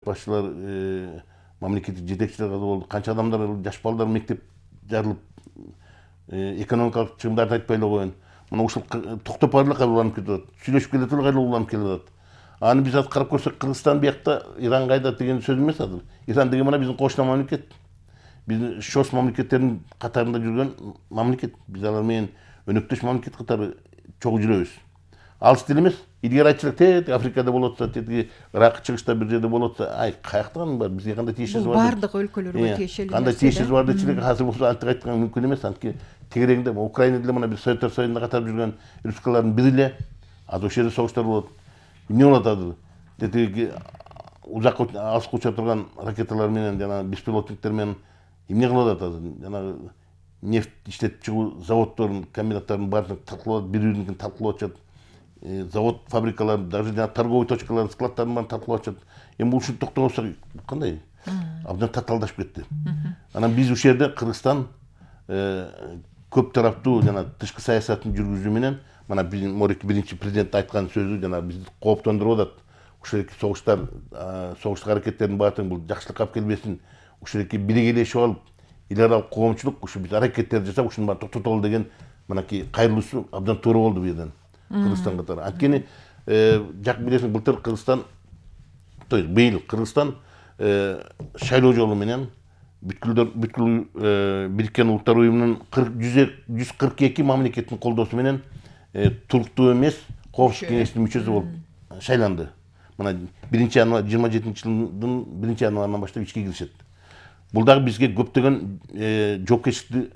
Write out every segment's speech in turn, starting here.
башчылар, мамлекеттик жетекчилер каза болду. Канча адамдар, жаш балдар мектеп жарылып, экономикалык чыгымдарды айтпай эле коеюн. Мына ушул токтоп бара эле кайра уланып кетип атат. Сүйлөшүп келе турган кайра уланып келип атат. Аны биз карап көрсөк, Кыргызстан биякта, Иран кайда деген сөз эмес азыр. Иран деген мына биздин кошуна мамлекет. Биздин ШОС мамлекеттеринин катарында жүргөн мамлекет. Биз алар менен өнөктөш мамлекет катары чогуу жүрөбүз. Алыс деле эмес. Илгери айтчылык Африкада болот атса, тетиги Ирак чыгышта бир жерде болот атса, ай каяктан бар, бизге кандай тиешеси бар? Бардык өлкөлөргө тиешелүү. Кандай тиешеси бар дечилик азыр болсо антип айткан мүмкүн эмес. Анткени тегерегинде Украина деле мына биз Советтер Союзунда катарып жүргөн республикалардын бири эле. Азыр ошол жерде согуштар болот. Эмне болот азыр? Тетиги узакка алыска уча турган ракеталар менен жана беспилотниктер менен эмне кылып атат азыр? Жанагы нефть иштетип чыгуу заводдордун, комбинаттардын баарын талкалап, бири-биринин талкалап атышат. Завод, фабрикалар, даже торговый точкалар, складдардын баарын талкалап атышат. Эми ушинтип токтогонсо кандай? Абдан татаалдашып кетти. Анан биз ушул жерде Кыргызстан көп тараптуу жана тышкы саясатын жүргүзүү менен мына биздин Морик биринчи президент айткан сөзү жана бизди кооптондуруп атат. Ушул эки согуштар, согуштук аракеттердин баардыгы бул жакшылыкка алып келбесин, ушул эки биригелешип алып, эл аралык коомчулук ушу биз аракеттерди жасап, ушуну баарын токтотолу деген мынакей кайрылуусу абдан туура болду бу жерден. Кыргызстан катары. Анткени жак билесиң, былтыр Кыргызстан, то есть быйыл Кыргызстан шайлоо жолу менен бүткүл Бириккен Улуттар Уюмунун 142 мамлекеттин колдоосу менен туруктуу эмес коопсуздук кеңешинин мүчөсү болуп шайланды. Мына 27-жылдын 1-январынан баштап ичке киришет. Бул дагы бизге көптөгөн жоопкерчиликти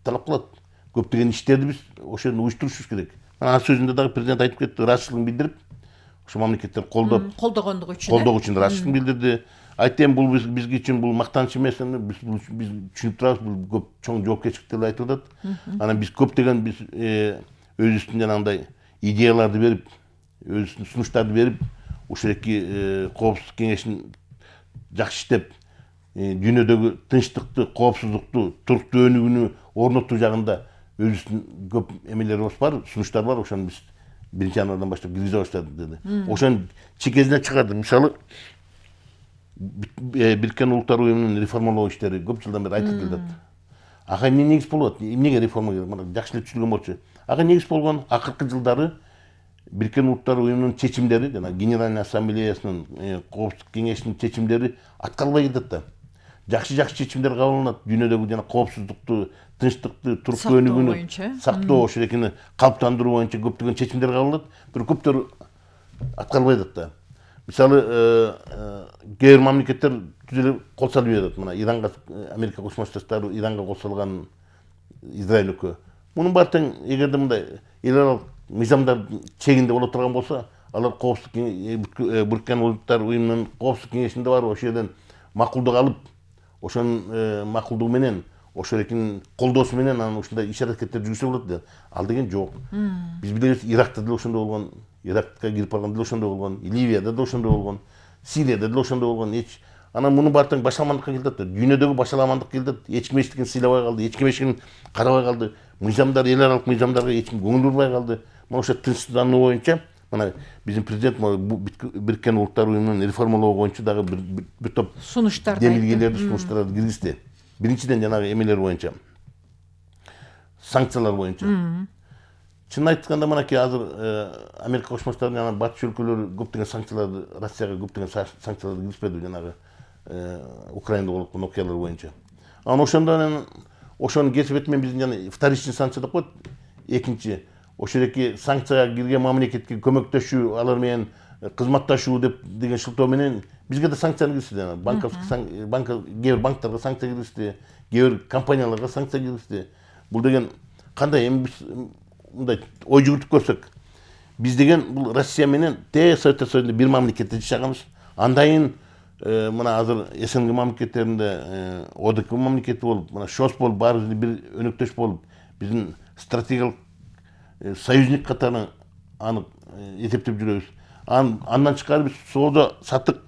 талап кылат. Көптөгөн иштерди биз ошону уюштурушубуз керек. Анын сөзүндө дагы президент айтып кетти, ыраазычылыгын билдирип, ошо мамлекеттер колдогондугу үчүн ыраазычылыгын билдирди. Айттым, бул бизге үчүн бул мактаныч эмес, биз түшүнүп турабыз, бул көп чоң жоопкерчилик деп айтып атат. Анан биз көптөгөн өзүбүздүн жанагындай идеяларды берип, өзүбүздүн сунуштарды берип, ушул эки коопсуздук кеңешин жакшы иштеп, дүйнөдөгү тынчтыкты, коопсуздукту, туруктуу өнүгүүнү орнотуу жагында өзүбүздүн көп эмелерибиз бар, сунуштар бар. Ошону биз 1-январдан баштап киргизе баштадык деди. Ошонун чекесине чыгарды. Мисалы, Бириккен Улуттар Уюмунун реформалоо иштери көп жылдан бери айтылып келет. Ага эмне негиз болуп атат? Эмнеге реформа керек? Мына жакшы эле түшүнгөн болчу. Ага негиз болгон акыркы жылдары Бириккен Улуттар Уюмунун чечимдери, жана Генеральный Ассамблеясынын коопсуздук кеңешинин чечимдери аткарылбай кетет да. Жакшы чечимдер кабылданат. Дүйнөдөгү жана коопсуздукту, тынчтыкты, туруктуу өнүгүүнү сактоо, ошол экени калыптандыруу боюнча көптөгөн чечимдер кабылданат, бирок көптөрү аткарылбай атат да. Мисалы, кээ бир мамлекеттер түз эле кол салып жатат. Мына Иранга, Америка Кошмо Штаттары Иранга кол салган, Израиль өлкө. Мунун баары тең, эгерде мындай эл аралык мыйзамдар чегинде боло турган болсо, алар Бириккен Улуттар Уюмунун коопсуздук кеңешинде бар, ошол жерден макулдук алып, ошонун макулдугу менен, ошол экинин колдоосу менен анан ушундай иш аракеттер жүргүзсө болот да. Ал деген жок. Биз билебиз, Иракта деле ошондой болгон, Иракка кирип барганда деле ошондой болгон, Ливияда деле ошондой болгон, Сирияда деле ошондой болгон. Анан мунун баары тең башаламандыкка келет да. Дүйнөдөгү башаламандык келет. Эч ким эчтекени сыйлабай калды, эч ким эчкини карабай калды. Мыйзамдар, эл аралык мыйзамдарга эч ким көңүл бурбай калды. Мына ошо тынчсыздануу боюнча, мына биздин президент Бириккен Улуттар Уюмунун реформалоо боюнча дагы бир топ сунуштарды демилгелерди, сунуштарды киргизди. Биринчиден жанагы эмелер боюнча, санкциялар боюнча. Чынын айтканда, мынакей азыр Америка Кошмо Штаттары жана батыш өлкөлөрү көптөгөн санкцияларды, Россияга көптөгөн санкцияларды киргизбеди, жанагы Украинада болуп аткан окуялар боюнча. Анан ошондон ошонун кесип менен биздин жана вторичный санкция деп коет. Экинчи, ошол эки санкцияга кирген мамлекетке көмөктөшүү, алар менен кызматташуу деген шылтоо менен бизге да санкцияны киргизди. Кээ бир банктарга санкция киргизди, кээ бир компанияларга санкция киргизди. Бул деген кандай? Эми биз мындай ой жүгүртүп көрсөк, биз деген бул Россия менен Советтер Союзунда бир мамлекетте жашаганбыз. Андайын мына азыр СНГ мамлекеттеринде ОДК мамлекети болуп, мына ШОС болуп, баарыбыз бир өнөктөш болуп, биздин стратегиялык союзник катары аны эсептеп жүрөбүз. Андан тышкары биз соода сатык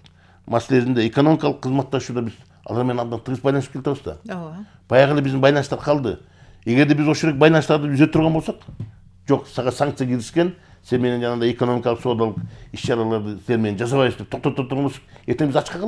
маселесинде, экономикалык кызматташууда биз алар менен абдан тыгыз байланышып келатабыз да. Ооба. Баягы эле биздин байланыштар калды. Эгерде биз ошол байланыштарды үзө турган болсок, жок, сага санкция киргизген, сен менен жанагындай экономикалык соодалык иш чараларды сен менен жасабайбыз деп токтотуп туруңуз, эртең биз ачка калабыз.